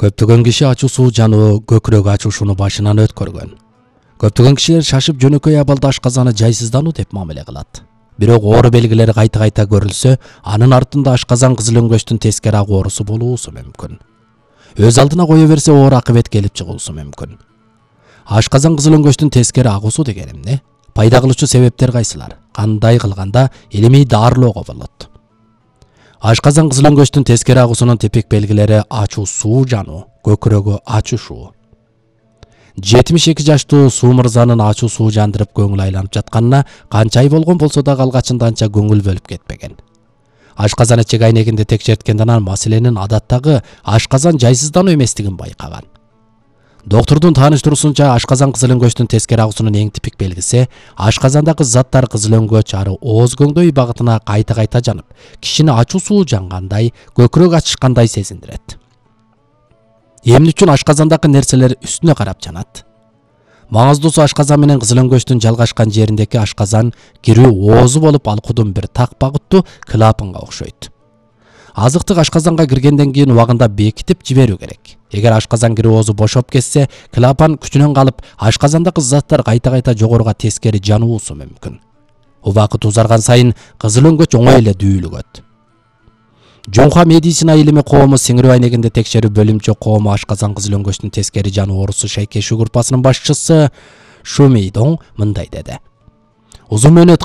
Көптөгөн киши ачуу суу жануу көкүрөк ачуушуну башынан өткөргөн. Көптөгөн кишилер шашып жөнөкөй абалда ашказаны жайсыздануу деп мамиле кылат. Бирок оору белгилери кайта көрүлсө, анын артында ашказан кызыл өңгөчтүн тескери агуу оорусу болуусу мүмкүн. Өз алдына кое берсе оор акыбет келип чыгуусу мүмкүн. Ашказан кызыл өңгөчтүн тескери агуусу деген эмне? Пайда кылуучу себептер кайсылар? Кандай кылганда илимий дарылоого болот? Ашказан кызыл өңгөчтүн тескери агуусунун типик белгилери ачуу суу жануу, көкүрөгү ачышуу. 72 жаштуу Суу мырзанын ачуу суу жандырып көңүл айланып жатканына канча ай болгон болсо да алгачында анча көңүл бөлүп кетпеген. Ашказан ичек айнегинде текшерткенде анан маселенин адаттагы ашказан жайсыздануу эместигин байкаган. Доктурдун тааныштыруусунча, ашказан кызыл өңгөчтүн тескери агуусунун эң типик белгиси ашказандагы заттар кызыл өңгөч ары ооз көңдөй багытына кайта жанып, кишини ачуу суу жангандай, көкүрөк ачышкандай сезиндирет. Эмне үчүн ашказандагы нерселер үстүнө карап жанат? Маңыздуусу ашказан менен кызыл өңгөчтүн жалгашкан жериндеги ашказан кирүү оозу болуп, алкудун бир так багыттуу клапанга окшойт. Азыктык ашказанга киргенден кийин убагында бекитип жиберүү керек. Эгер ашказан кирүү оозу бошоп кетсе, клапан күчүнөн калып, ашказандагы заттар кайта жогоруга тескери жануусу мүмкүн. Убакыт узарган сайын кызыл өңгөч оңой эле дүүлүгөт. Жоңха медицина илими коому сиңирүү айнегинде текшерүү бөлүмчө коому ашказан кызыл өңгөчтүн тескери жануу оорусу шайкешүү группасынын башчысы Шумейдон мындай деди. Узун мөөнөт